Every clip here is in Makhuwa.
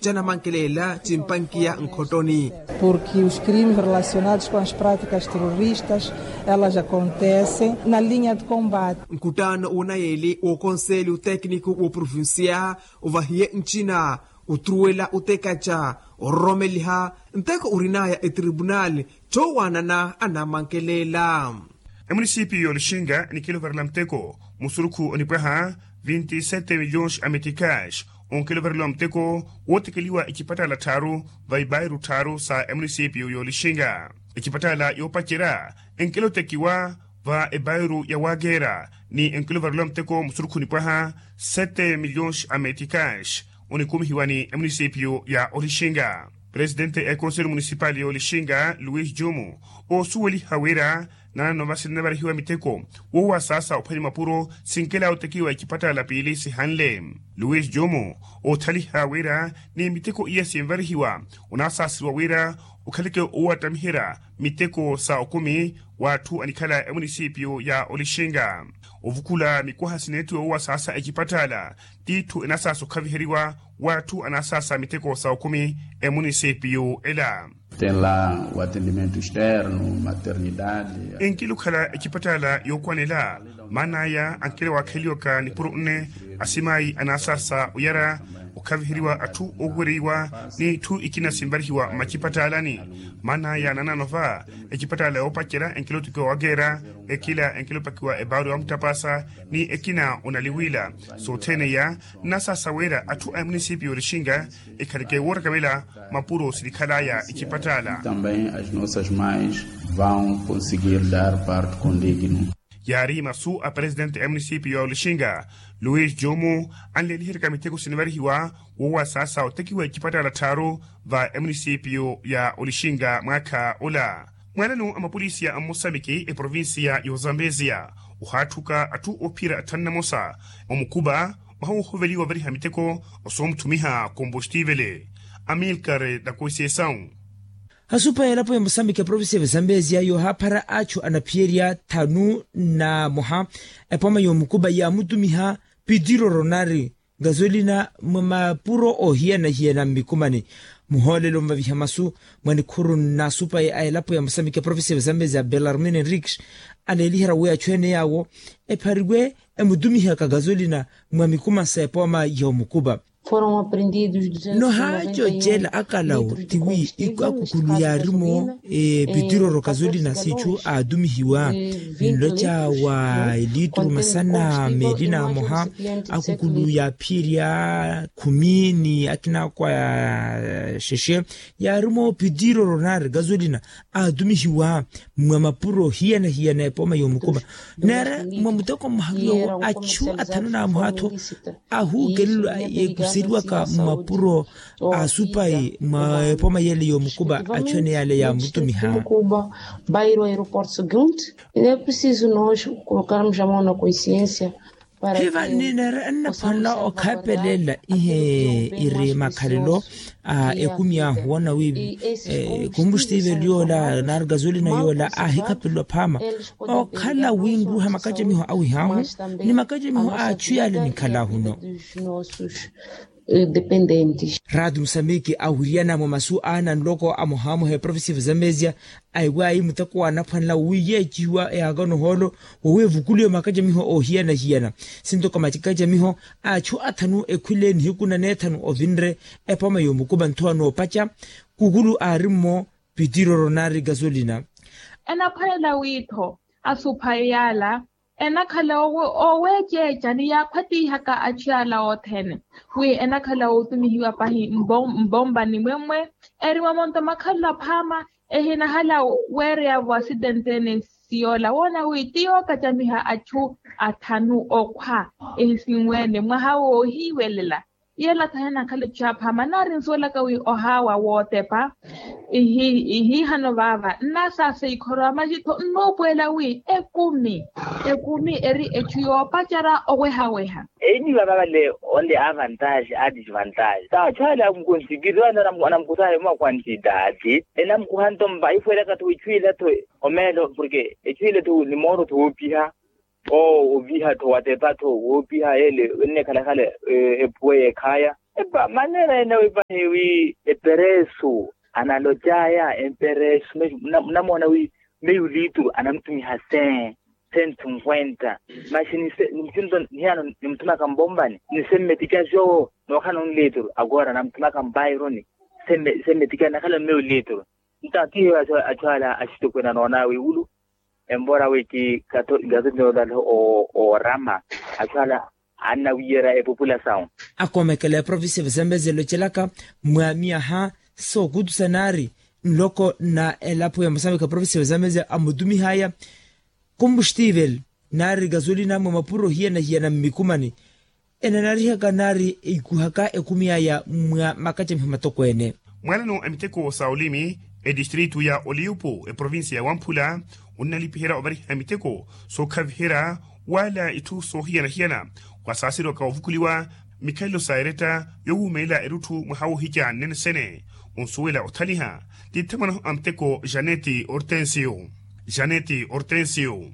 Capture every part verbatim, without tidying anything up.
Canamankelela cimpankiya nkhottoni. Porke os crimes relacionados com as práticas terroristas elas acontecem na linha de combate. Nkuttaano wonayeli wo konselho tekniko wo provincia ovahiye ncina, otruwela otekaca ororomeliha nteko orinaya etribunali cowanana anamankelela. Emunisipiyu y'olixinga nikela ovarela muteko musurukhu onipwaha vinti sete milhões a meticais. Onkela ovarela muteko wootekeliwa ecipattala tthaaru va ibairu tthaaru sa emunisipiyu y'olixinga. Ecipattala yoopacerya enkela otekiwa va ebairu ya wageera ni enkela ovarela muteko musurukhu onipwaha sete milhões a meticais. Onikumihiwa ni emunisipiyu ya olixinga. Presidente a ekonselho munisipali y'olixinga luis jomo oosuweliha wira nanano vasi ninavarihiwa miteko woowasaasa ophwanya mapuro sinkela otekiwa ecipattala piili sihanle. Luis jomo oothaliha wira ni miteko iya sinvarihiwa onasaaseriwa wira okhaleke owattamiherya miteko sa okumi w'atthu anikhala emunisipiyu ya olixinga. Ovukula mikwaha sineettiwa woowasaasa ecipattala t'itthu enasaasa okhaviheriwa w'atthu anasaasa miteko sa okumi emunisipiyu ela. Tem lá o atendimento externo, maternidade. Enkila okhala ecipattala yookwanela maan'aya ankela waakheliwaka nipuro nne asimayi anasaasa oyara okhaviheriwa atthu oohuwereiwa ni itthu ikina sinvarihiwa mmacipattalani. Maan'aya nanano va ecipattala yoopacerya enkela otekiwa wageera ekila enkela opakiwa ebaaru ya mutapasa ni ekina onaliwiila. Sothene iya nnasaasa wira atthu a emunisipiyu y'olixinga ekhaleke woorakavela mapuro sinikhalaya ecipattala. Também as nossas mães vão conseguir dar parto condigno. Yaari masu a presidente a emunisipiyu ya olixinga luis jomo anleeliheryaka miteko sinivarihiwa woowasaasa otekiwa ecipattala tthaaru va emunisipiyu ya olixinga mwaakha ola. Mwaananu a mapolisiya a mmosamiki eprovincia y'ozambezia ohaatthuka atthu oophiyerya atthanu namosa omukupa mwaha woohoveliwa ovariha miteko osoomutthumiha kompostivele. Amilkare na koisesau. Hasupa ya elapo ya mosamiki eprovincia ya zambezia yoohaaphara achu anaphiyerya thanu na moha epoma yoomukupa yaamutumiha pitiro ronari gazolina mwa mapuro oohiyana-hiyana mmikumani. Muhoolelo mvaviha masu mwa nikhuru nnaasupayi a elapo ya mosamiki eprovincia ya zambezia belarmine enrique aleeliherya wi achu ene yaawo ephariwe emutumihaka gazolina mwa mikuma sa epoma yoomukupa. Nohaacoocela akalawo tiwi akukhulu yaarimo pitiroro kazolina siichu aatumihiwa ninloca wa eliituru masana meeli na moha. Akukhulu yaaphiyerya khumi ni akina akwa xexe yaarimo pitiroro nari gazolina aatumihiwa mwa mapuro hiyana-hiyana epoma yoomukupa. Neera mwa muteko mmoha yoowo achu athanu na moha-tho ahuukelelwa yeekuseriwaka mmapuro a supayi mwa epoma yele yoomukupa achu ene yale yaamutumiha. Bairro aeroporto segundo e é preciso nós colocarmos a mão na consciência. Hiva nineera ennaphwanela okhaapelela ihe iri makhalelo a ekumi ahu woona wi kombustivel yoola nari gazolina yoola aahikhapelelwa phaama okhala winruha makacamiho awihaahu ni makacamiho a achu yaale nikhalaahuno. Dependentes. Raati musamiki awiriyana mwa masu aana nloko amohamoha eprovincia ya zambezia aiwaayi muteko waanaphwanela wi yeecihiwa eyaakano ohoolo wowi evukuliwe makacamiho oohiyana-hiyana. Sintoko makacamiho a achu athanu ekhwile nihiku na neethanu ovinre epoma yoomukupa nthuwa noopaca kukulu aari-mmo pitiroro nari gazolina. Enaphwanela wi-tho asuphayi yaala enakhala ooweeceeca ni yaakhwatihaka achu yaala othene wi enakhala ootumihiwa pahi mbombani mwemmwe eri mwamonto makhalelo aphaama ehinahala weereyavo asidentene. Siyoola woona wi ti yookacamiha achu athanu okhwa ehisinweene mwaha woohiiwelela. Yeela-tho henakhala echu aphaama nari nsuwelaka wi ohaawa wootepa ihiihano vaava nnasaasa ikhoro amaci-tho nnuupuwela wi ekumi ekumi eri echu yoopacerya owehaweha. Einiwa vavale onle avantage a disvantage ta achu ale amukonsikiri anamukusaha emwa quantidade enamukuha nto mva ifuwelaka-tho echu ile-tho omeelo porke echu ile-tho ni mooro-tho woopiha. Oo oviha-tho watepa-tho woopiha yeele ennekhalakhala ephuwe yeekhaya. Epa maneera ene wi pahi wi eperesu analocaya emperesu, munamoona wi meyu liituru anamutumiha sen sen sinkwenta. Maxi nimucinto nihiyano nimutumaka mpompani ni sen metikya soowo nookhala nonlituru akoora namutumaka mpaironi. Sen metikya nakhala mmeyo lilituru. Nta kihiyo achu ala axitukwena noona wiwulu. Empora wi ti kato nkato nyoolale oorama achu ala annawiyerya epupula sawu. Akoomekela eprovincia vazambezi elocelaka mwa miyaha sookutusa naari nloko na elapo ya mosamika provincia vazambezi amutumihaya. Kumbustivel naari kazoli namwe mapuro hiyana hiyana mmikumani enanarihaka naari ikuhaka ekumi aya mwa makacamiho matokweene. Mwaanano a miteko sa olimi edistritu ya oliupu eprovincia ya wamphula onnalipiherya ovariha miteko sookhaviherya wala itthu soohiyana-hiyana. Wasaaseriwaka ovukuliwa mikhalelo sa eretta yowuumelela erutthu mwaha wohikya nnene sene onsuwela othaliha ti thamwanaho a muteko janeti ortensio janeti ortensio.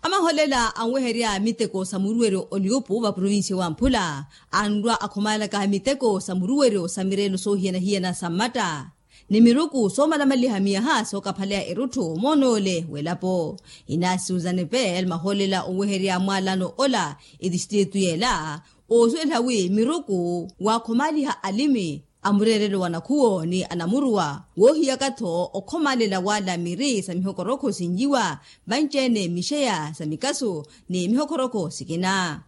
Amaholela anweherya miteko sa muruweryo oliupu va provincia wa mphula anrwa akhomalaka miteko sa muruweryo sa mirelo soohiyana-hiyana sa mmatta ni miruku soomalamaliha miyaha sookaphaleya erutthu moonoole w'elapo. Inasi uzanepel maholela onweherya mwaalano ola etistritu y'ela oosuweliha wi miruku waakhomaliha alimi a mureerelo wa nakhuwo ni anamuruwa woohiyaka-tho okhomalela wala miri sa mihokorokho sinjiwa vanci-ene mixeya sa mikasu ni mihokorokho sikina.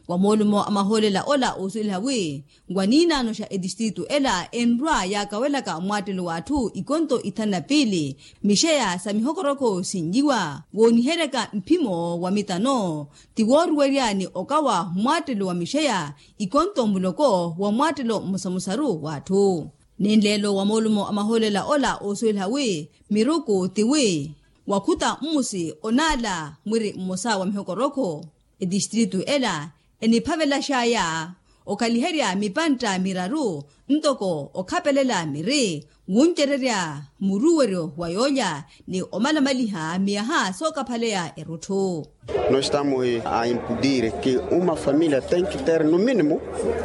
Wa moolumo a mahoolela ola oosuweliha wi wa niinaano xa etistritu ela enrwa yaakawelaka mmwaattelo w'atthu ikonto ithanu na piili mixeya sa mihokorokho sinjiwa wooniheryaka mphimo wa mitano ti wooruwerya ni okawa mmwaattelo wa mixeya ikonto muloko wa mmwaattelo mmosamosaru w'atthu. Ni nleelo wa moolumo a mahoolela ola oosuweliha wi miruku ti wi wakhuta mmusi onaala mwiri mmosa wa mihokorokho etistritu ela eniphavelaxaya okhaliherya mipantta miraru ntoko okhapelela miri wuncererya muruweryo wa yoolya ni omalamaliha miyaha sookaphaleya erutthu. Nós estamos a impedir que uma família tem que ter no mínimo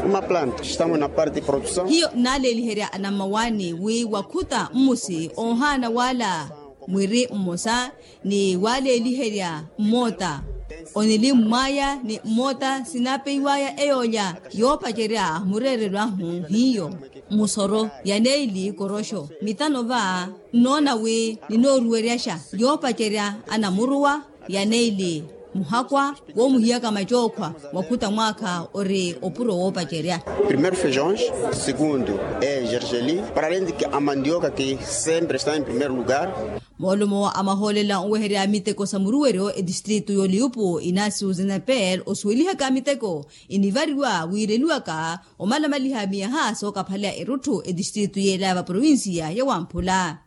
uma planta estamos na parte de produção. Hiyo nnaaleeliherya anammawaani wi wakhuta mmusi oohaana wala mwiri mmosa ni waleeliherya mmoota onilimmw'aya ni mmoota sinapeiw'aya eyoolya yoopacerya mureerelo ahu hiyo musoro ya neili koroxo mitano va nnoona wi ninooruweryaxa yoopacerya anamuruwa ya neili muhakwa woomuhiyaka macookhwa wakhuta mwaakha ori opuro woopacerya. Primeiro feijões, segundo é gergeli para além de que a mandioka que sempre está em primeiro lugar. Moolumo a mahoolela onweherya miteko sa muruweryo etistritu y'oliupu inasi uzenepel osuwelihaka miteko enivariwa wiireliwaka omalamaliha miyaha sookaphaleya erutthu etistritu y'ela va provincia ya wamphula.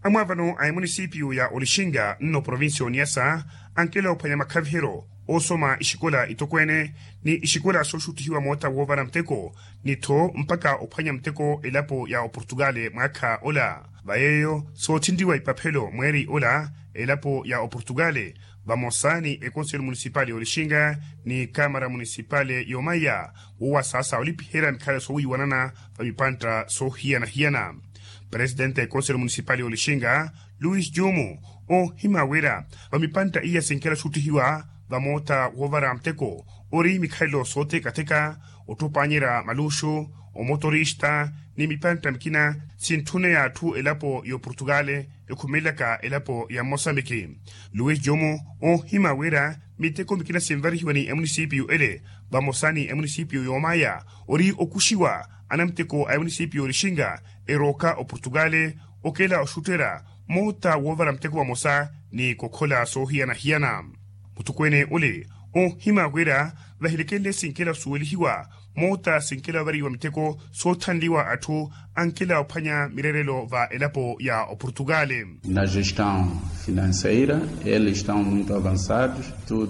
Amwaavano a emunisipiyu ya olixinga nno provincia oniyasa ankela ophwanya makhaviheryo oosoma ixikola itokweene ni ixikola sooxuttihiwa moota woovara muteko ni-tho mpakha ophwanya muteko elapo ya oportugale mwaakha ola. Va yeeyo soothinriwa ipaphelo mweeri ola elapo ya oportugale vamosa ni ekonselo munisipale y'olixinga ni kamara munisipale y'omaya wowasaasa olipiherya mikhalelo soowiiwanana va mipantta soohiyana-hiyana. Presitente a ekonselo munisipale y'olixinga luis jumu oohima wira va mipantta iya sinkela oxuttihiwa va moota woovara muteko ori mikhalelo sootheka-theka ottopaanyerya maluxu omotorista ni mipantta mikina sintthuneya atthu elapo y'oportugale ekhumelelaka elapo ya mmosambiki. Luis jumu oohima wira miteko mikina sinvarihiwa ni emunisipiyu ele vamosa ni emunisipiyu y'omaya ori okuxiwa anamuteko a emunisipiyu y'olixinga erooka oportugale okela oxutterya moota woovara muteko vamosa ni kokhola soohiyana-hiyana. Muthukwene ole oohima wira vahilekelle sinkela osuwelihiwa moota sinkela ovariwa miteko soothanliwa atthu ankela ophwanya mireerelo va elapo ya oportugale. Na gestão financeira eles estão muito avançados.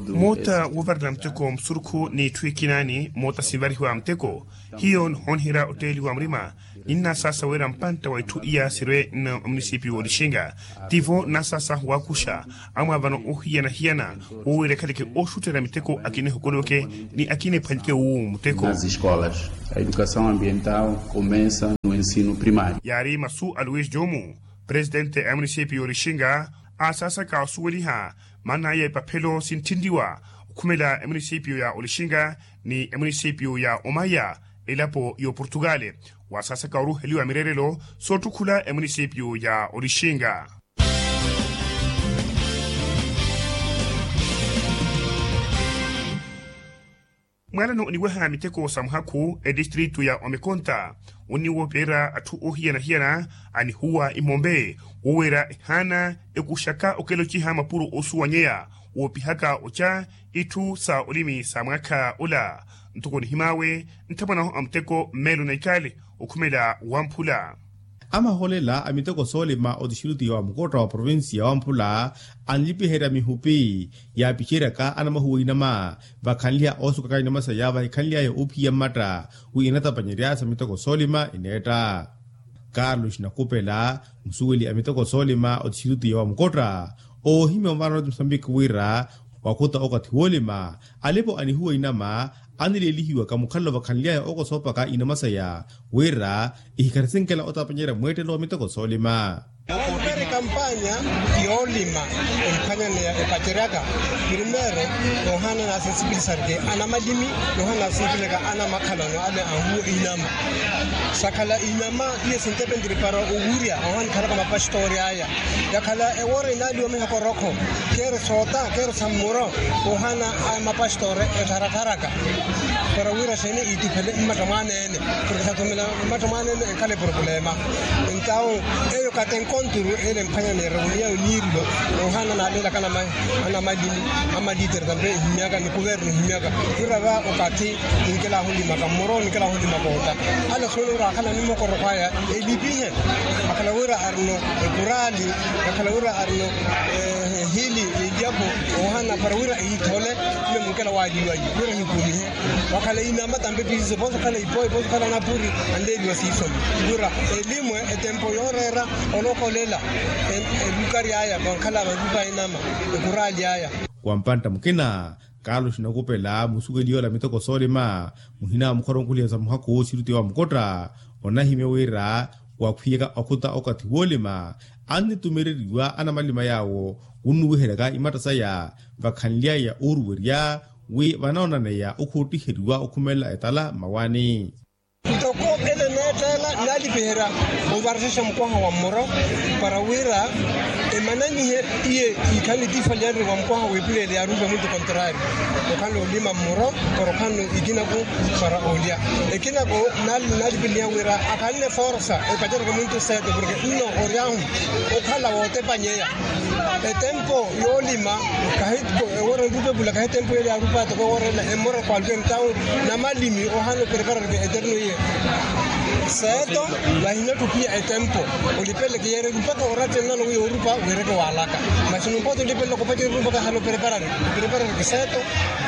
Moota woovarela muteko musurukhu n'itthu ikinaani moota sinvarihiwa muteko hiyo nihooniherya otteeliwa murima ninnasaasa wira mpantta wa itthu iya sirwe nno omunisipiyu w'olixinga tivo nnasaasa waakuxa amwaavano ohiyana-hiyana woowira ekhaleke ooxutterya miteko akina ehokoliweke ni akina ephwanyeke wuuwu muteko. Escolas, a educação ambiental começa no ensino primário. Yaari masu a luis jomu, presidente a municipio ya olixinga, aasaasaka osuweliha maana ya epaphelo sinttinliwa okhumela emunicipio ya olixinga ni emunicipio ya omaya, elapo ya oportugal, waasaasaka oruheliwa mireerelo soottukhula emunicipio ya olixinga. Mwaalano oniweha miteko sa muhakhu etistritu ya omekonta, onniwoopera atthu oohiyana-hiyana anihuwa imombe, woweera ehaana ekuxaka okela ociha mapuro oosuwanyeya woopihaka oca itthu sa olimi sa mwaakha ola. Ntoko nihimaawe nthamwanahu a muteko mmeelo na ikale okhumela wamphula. Amaholela a miteko soolima otixiruti ya wamukotta wa provincia ya wamphula anlipiherya mihupi yaapiceryaka anamahuwa inama vakhanliha oosukaka inama saya vahikhanly'aya oophiya mmatta wi enatapanyerya sa miteko soolima eneetta. Carlos nakupela, musuweli a miteko soolima otixiruti ya wamukotta oohimya ovaarana oti musambiki wira wakhuta okathi woolima alipo anihuwa inama anileelihiwaka mukhalelo vakhanly'aya ookosoopaka inama saya wira ihikharisinkela otapanyerya mweettelo wa miteko soolima. Kampanya yoolima emphwanyaneya epaceryaka primeiro, noohaana naasensipilisarike anamalimi, noohaana naasensipilisarike anamakhalano ale anhuwa inama. Sakhala inama tiye sintepentiri para owurya ahohanikhalaka mapastori aya. Yakhala ewoora inaaliwa mihoko rokho, keeri soota keeri sammuro, koohaana a mapastore ettharatharaka para wira xeeni iituphele mmatta mwaaneene. Porke sathumela mmatta mwaaneene enkhala epropulema. Entawu eyo kati enkonturu ele emphwanya neerewoniya oniirilo, noohaana naaleelaka anamalimi, amalitere tampe ehimyaka ni kuvernu ehimyaka. Wira va okathi ninkelahu olimaka mmoro ninkelahu olimaka otta. Ale sooni wira akhala ni mokoroko aya elipihe, akhala wira arino ekuraali, akhala wira arino ehili eliapo, oohana para wira ehithole. Mme munkela waaliwayi wira ehikumihe, wakhala inama tampe piise poso khala ipoi poso khala napuri, anleeliwa siisomi. Wira elimwe etempo yooreera olokolela elukari aya vankhala valupa inama, ekuraali aya. Wa mpantta mukina, carlos nakupela musuweli yoola miteko soolima muhina wa mukhoromukhuliha sa muhakhu siruti wa mukotta, onahimya wira wakhwiyaka okhuta okathi woolima annitumereriwa anamalima yaawo wunnuwiheryaka imatta saya vakhanly'aya ooruwerya wi vanoonaneya okhoottiheriwa okhumelela etala mmawaani. Ntoko ele neettela naalipiherya ovarexa mukwaha wa mmoro para wira emananyihe iye ikhale tiifalyanre wa mukwaha w'epuleele yaarupa muntu kontrari, okhala olima mmoro para okhala ikinaku para olya. Ekinako naalipiliha wira akhanne forsa epacereke muntu seto porke nno oryahu okhala wootepanyeya. Etempo yoolima kahi ewoora nrupepula kahi etempo yeli yaarupa toko ewoora ela emmora kwalukeni tawu namalimi ohaana opreparareke eterno iye. Seeto vahinattupiya etempo olipeleke yeereke mpakha orattennano wi yoorupa weereke waalaka. Masi numpote olipeleke opacereke mpakha hale opreparareke opreparareke seeto.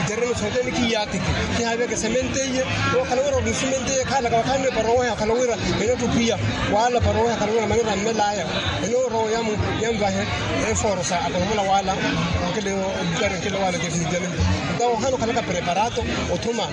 Itereno sothene kiyaatiki kihaaviyaka esemente iye. Wakhala wira ori nsemente iye khaalaka wakhaanne para oweha wakhala wira enattupiya waala para oweha wakhala wira manera mmel'aya. Enoorowa yamu yamvahe eforosa akolomola waala. Okele olukari nkele waala definitivamente. Ntawo ohana okhalaka preparato othuma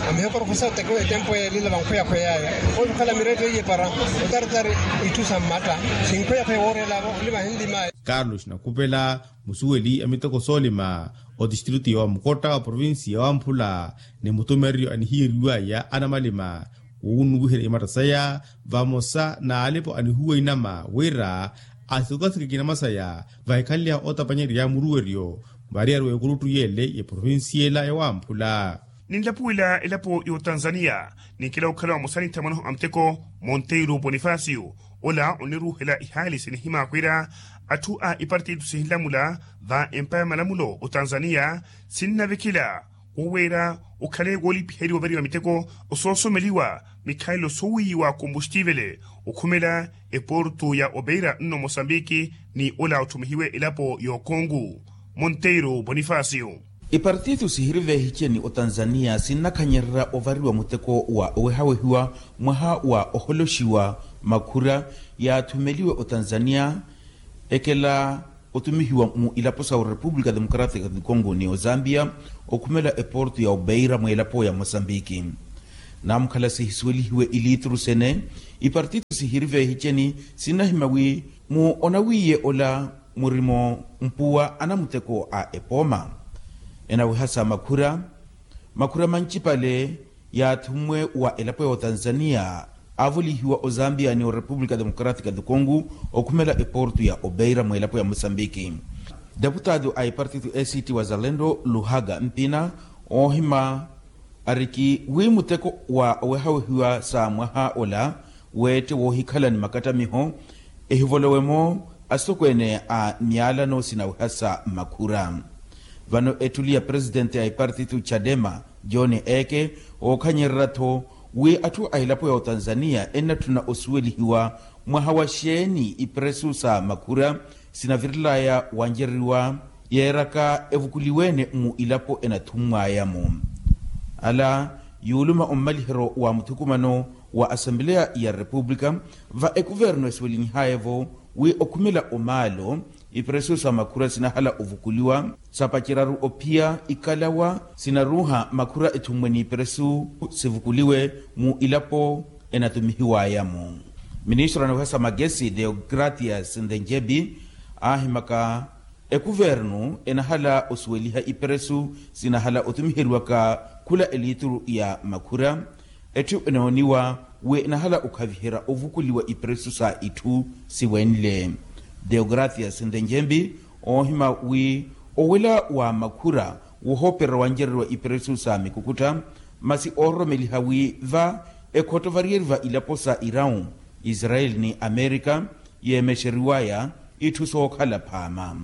amihekorokosa otekewa etempo yeelila vankhweyakhweyaya. Oso okhala miretto iye para otaritari itthu sa mmatta sinkhweyakhweya wooreelavo olivahe nlimaya. Carlos nakupela musuweli a miteko soolima otistritu ya wamukotta wa provincia ya wamphula ni mutumereryo anihiyeriwaya anamalima wunnuwiherya imatta saya vamosa n'alipo anihuwa inama wira asikokasikeke inama saya vahikhanly'awe otapanyerya muruweryo variyari wa ekuruttu yele ya provincia ela ya wamphula. Ninlapuwela elapo ya otanzania ninkela okhala vamosa ni nthamwanahu a muteko monteiro bonifacio ola oniruuhela ihaali sinihimakwira atthu a ipartitu sihinlamula va empa ya malamulo otanzania sinnavekela woweera okhale woolipiheriwa ovariwa miteko osoosomeliwa mikhalelo soowiiwa kombuxtivele okhumela eportu ya opeira nno mosambiki ni ola otthumihiwe elapo y'okongu. Monteiro bonifacio. Ipartitu sihiri vehice ni otanzania sinnakhanyererya ovariwa muteko wa owehawehiwa mwaha wa oholoxiwa makhura yaathumeliwe otanzania ekela otumihiwa mu ilapo sa orepupulika democratica di congo ni ozambia okhumela eportu ya opeira mweelapo ya mosambiki. Namukhala sihisuwelihiwe ilituru sene, ipartito sihiri vehiceni sinnahima wi mu onawiiye ola murimo mpuwa anamuteko a epooma. Enawiha sa makhura makhura mancipale yaathummwe wa elapo ya otanzania, aavolihiwa ozambia ni orepupulika democratika dukongu, okhumela eportu ya obeira mw'elapo ya mosambiki. Deputado a ipartito ect wazalendo luhaga mpina oohima ariki wi muteko wa owehawehiwa sa mwaha ola weette woohikhala ni makattamiho ehivolowe-mo asitokweene a myalano sinaweha sa makhura. Vano ettuli ya presitente a ipartito chadema john eke ookhanyererya-tho wi atthu a elapo ya otanzania ennatthuna osuwelihiwa mwaha wa xeeni ipresu sa makhura sinavirelaya wancereriwa yeeraka evukuliwe-ene mu ilapo enathummwaya-mo. Ala yuuluma ommaliheryo wa muthukumano wa asempeleya ya repupulika va ekuvernu esuwelinyihaya-vo wi okhumela omaalo ipresu sa makhura sinahala ovukuliwa sapaceraru ophiya ikalawa sinaruuha makhura ethummwe n'ipresu sivukuliwe mu ilapo enatumihiwaya-mo. Ministro anaweha sa magesi deogratias nthenjebi aahimaka ekuvernu enahala osuweliha ipresu sinahala otumiheriwaka khula elituru ya makhura etthu enooniwa wi enahala okhaviherya ovukuliwa ipresu sa itthu siwenle. Deogratias nthenjembi oohima wi owela wa makhura wohoopererya wancereriwa ipresu sa mikukutta masi oororomeliha wi va ekhotto variyeriva ilapo sa irau, israel ni amerika yeemexeriwaya itthu sookhala phaama.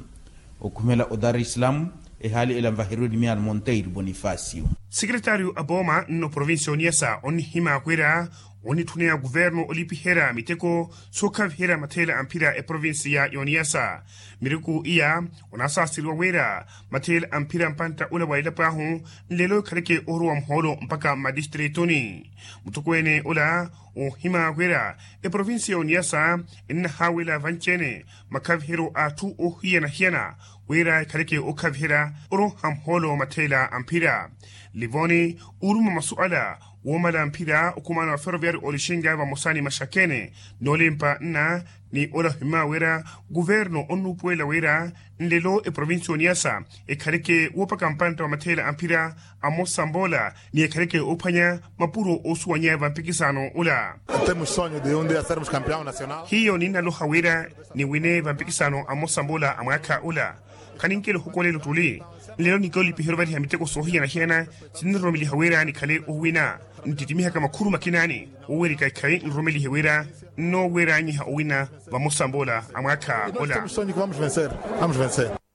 Okhumela o dar es salaam ehaali ela nvaheriwe ni miyaano monteiro bonifacio. Sekeretaryo a pooma nno provincia oniyasa onnihimaakwera onnitthuneya kuvernu olipiherya miteko sookhaviherya matheela a mphira eprovincia y'oniyasa. Miriku iya onasaaseriwa wira matheela a mphira mpantta ula wa elapo ahu nlelo ekhaleke ohurowa muhoolo mpakha mmadistritu ni muttokweene ula oohimaakwera eprovincia y'oniyasa ennahaawela vanci-ene makhaviheryo a atthu oohiyana-hiyana wira ekhaleke ookhaviherya oroha muhoolo matheela a mphira. Livoni uuruma masuala woomala mphira okhumana wa ferroviario olixinga vamosa ni maxakene noolimpa nna ni ola ohimaawerya kuvernu onnuupuwela wira nlelo eprovincia y'oniyasa ekhaleke woopaka mpantta wa matheela a mphira amosa mboola ni ekhaleke oophwanya mapuro oosuwanya vampikisano ula. Temos sonho de um dia sermos campeão nacional. Hiyo ninnaloha wira niwine vampikisano amosa mboola a mwaakha ula. Khaninkela ohukolela ottuli nlelo ninkela olipiheryo ovariha miteko soohiyana-hiyana sinniroromeliha wira nikhale owina nttittimiha ka makhuru makina ni owerika ikhayi nroromelihe wira nnooweranyiha owina vamosa mboola a mwaakha ola.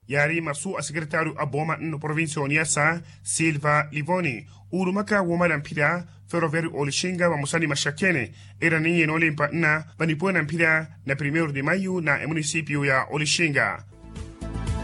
Yaari masu a sekeretaryo a pooma nno provincia y'oniyasa silva livoni uurumaka woomala mphira ferroviario olixinga vamosa ni maxakene eera ninye noolimpa nna vanipuwe na mphira na primeiro de maio na emunisipio ya olixinga.